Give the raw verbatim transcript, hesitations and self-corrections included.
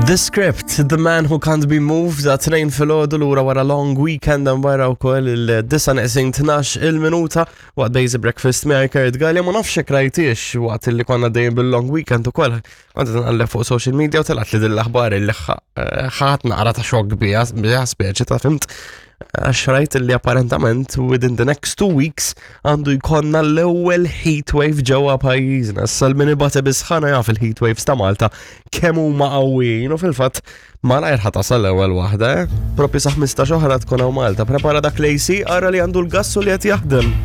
The Script, The Man Who Can't Be Moved, da tnejn filgħodu lura wara long weekend hemm barra wkoll il-disa neqsin tnax il-minuta waqt Basic Breakfast miegħi Kurt Gallia. Ma nafx hekk rajtiex waqt li konna dejjem bil-long weekend ukoll. Kont qed nqalleb fuq social media u telgħet li din l-aħbar li ħadt naqra ta' xokk biha biha speċi ta' fhimt, għax rajt li apparentament within the next two weeks għandu jkollna l-ewwel heat wave ġewwa pajjiżna. Issa min ibati bis-sħana jaf il-heat waves ta' Malta kemm huma qawwijin u fil-fatt malajr ħa tasal l-ewwel waħda, eh? Proprju sa ħmistax oħra tkun hawn Malta. Prepara dak l-A C, ara li għandu l-gassu li qed jaħdem.